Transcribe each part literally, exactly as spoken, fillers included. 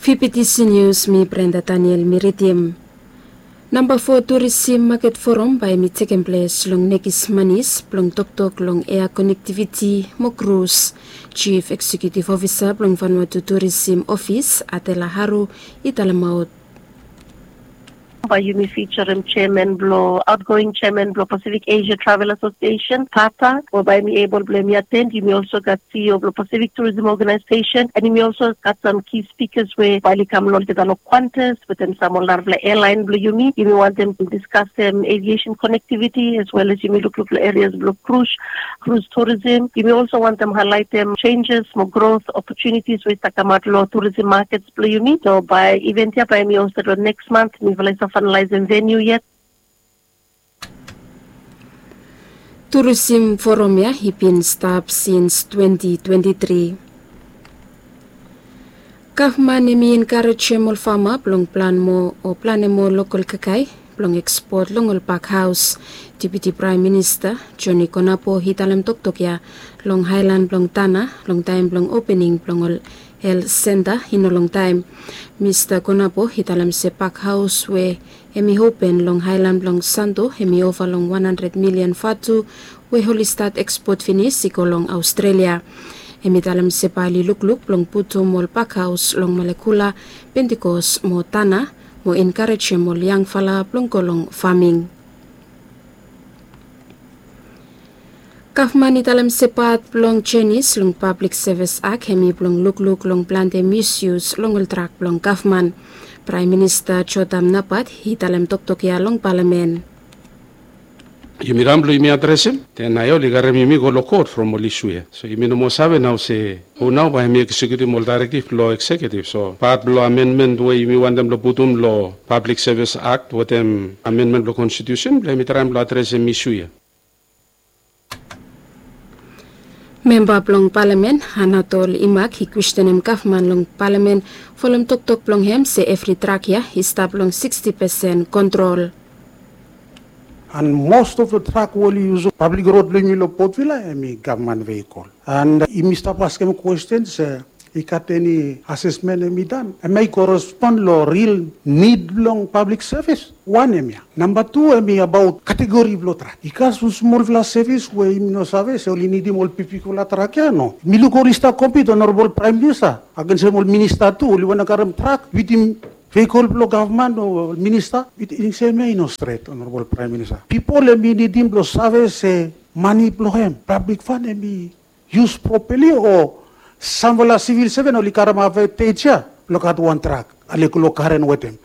Fifty News, mi Brenda Daniel mi ridim. Namba fo Turisim Maket Forum bae hemi tekem ples long Nekis Manis blong toktok long ea konektiviti mo krus. Jif Eksekutif Ofisa blong Vanuatu Turisim Ofis, Adela Haru, i talemaot. Bae yumi fijarem jeaman blong, aotgoing jeaman blong Pasifik Esia Travel Asosiesen, pata, we bae hemi ebol blong hemi aten. Yumi olso gat CEO blong Pasifik Turism Ogenaesesen, and yumi olso gat sam ki spikas we bae oli kam long olgeta long Qantas wetem sam ol narafala ealaen blong yumi. Yumi wantem diskasem eviesen konektiviti as well as yumi lukluk long erias blong krus, krus turisim. Yumi olso wantem haelaetem jenjes mo grot opotunitis we i stap kamaot long turisim makets blong yumi. So bae iven ya bae hemi hosted long neks mant. Mifala i stap faenalaesem veniu yet. Turisim Forum ya i bin stap sins twenti twenti tri. Gavman hemi enkarejem ol fama blong plan moa o planem moa lokol kakae blong ekspot long ol pak haos. Deputi Praem Minista Joni Konapo i talem toktok ya long haelan blong Tanna long taem blong opening blong ol helt senta i no longtaem. Mista Konapo i talem se pak haos we hemi open long haelan blong Santo hemi ova long wan handred milian vatu we oli stat ekspot finis i go long Aostrelia. Hemi talem se bae oli lukluk blong putum ol pak haos long Malekula, Pentikos mo Tanna mo enkarejem ol yangfala blong go long faming. Gavman i talem se pat blong jenis long Pablik Sevis Ak hemi blong lukluk long plante misyus long ol trak blong gavman. Praem Minista Jotam Napat i talem toktok ya long palamen. Yumi kam blong yumi adresem, den nao oli karem yumi go long kot from ol isu ya. So yumi no moa save nao se hu nao bae hemi eksekutim ol daerektiv blong eksekiutiv. So pat blong amenmen we yumi wantem blong putum long Pablik Sevis Ak wetem amenmen blong konstitiusen blong hemi traem blong adresem isu ya. Memba blong palamen Anatol Imak i kwestenem gavman long palamen folem toktok blong hem se evri trak ya i stap long siksti pesen kontrol. And most of the truck we oli yusum pablik rod blong yumi long Port Vila hemi gavman veikol. And yumi stap askem kwesten se i gat eni asesmen hemi dan, hemia i korespon long ril nid blong pablik sevis? Wan hemia. Namba tu hemi abaot kategori blong trak. I gat sam smolfala sevis we yumi no save se oli nidim ol bigbigfala trak ya, no? Mi luk oli stap kompit, Onorabol Praem Minista, agensem ol minista tu oli wantem karem trak wetem veikol blong gavman o minista. Wetem hemia i no stret, Onorabol Praem Minista. Pipol hemi nidim blong save se mane blong hem, pablik fan, hemi yus propali o samfala sivil seven oli karem advantage ya blong gat wan trak, ale go long karen wetem.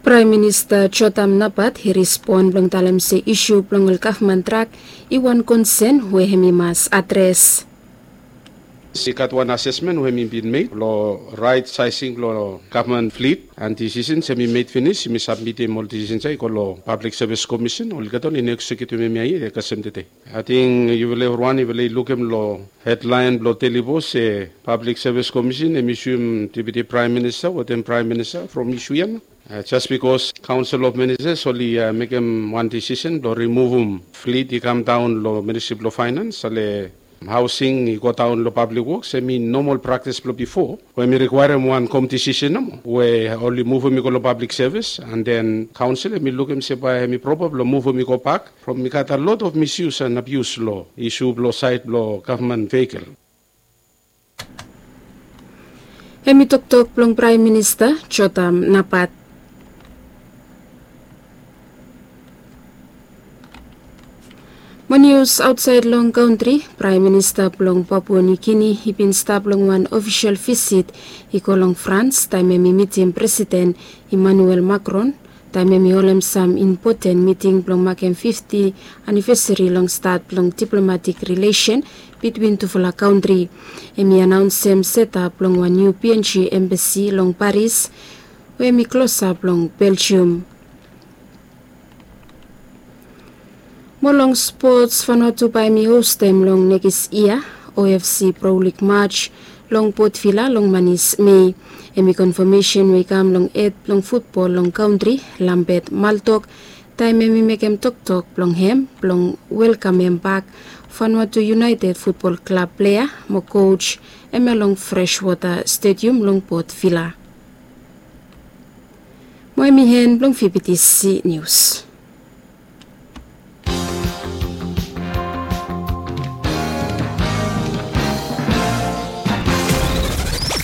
Praem Minista Jotam Napat i respon blong talem se isu blong ol gavman trak i wan konsen we hemi mas adres. I gat wan asesmen we hemi bin med long raet saesing blong gavman flit, and disisens hemi med finis. Yumi sabmitim ol disisens ya i go long Pablik Sevis Komisen. Olgeta oli no eksekutim hemia yet i kasem tede. Ating yufala evriwan yufala i lukim long hedlaen blong Deli Post se Pablik Sevis Komisen hemi suim Deputi Praem Minista wetem Praem Minista from isu ya nao. Jes bikos Kaonsel of Ministas oli mekem wan disisen blong rimuvum flit i kamdaon long Ministri blong Faenans, ale haosing i godaon long Pablik Woks, hemi nomol praktis blong bifo we hemi rikwaerem wan komiti disisen nomo we oli muvum i go long Pablik Sevis, and then Kaonsel hemi lukim se bae hemi propa blong muvum i gobak from i gat a lot of misyus and abius long isu blong saed blong gavman veikol. Hemi toktok blong Praem Minista Jotam Napat. Mo nius aotsaed long kantri, Praem Minista blong Papua Niu Gini i bin stap long wan ofisol visit i go long Frans taem hemi mitim Presiden Emmanuel Macron taem hemi holem sam impoten miting blong makem fifti anivesari long stat blong diplomatik rilesen bitwin tufala kantri. Hemi anaonsem setap blong wan niu PNG embasi long Paris we hemi klosap long Belgium. Mo long spots, Vanuatu bae hemi hostem long nekis yia OFC Pro League match long Port Vila long manis Mei. Hemi konfamesen we i kam long hed blong futbol long kantri, Lambert Maltok, taem hemi mekem toktok blong hem blong welkamem bak Vanuatu United futbol klab plea mo koj hemia long Freshwater Stadium long Port Vila. Mo hemi en blong V B T C Nius.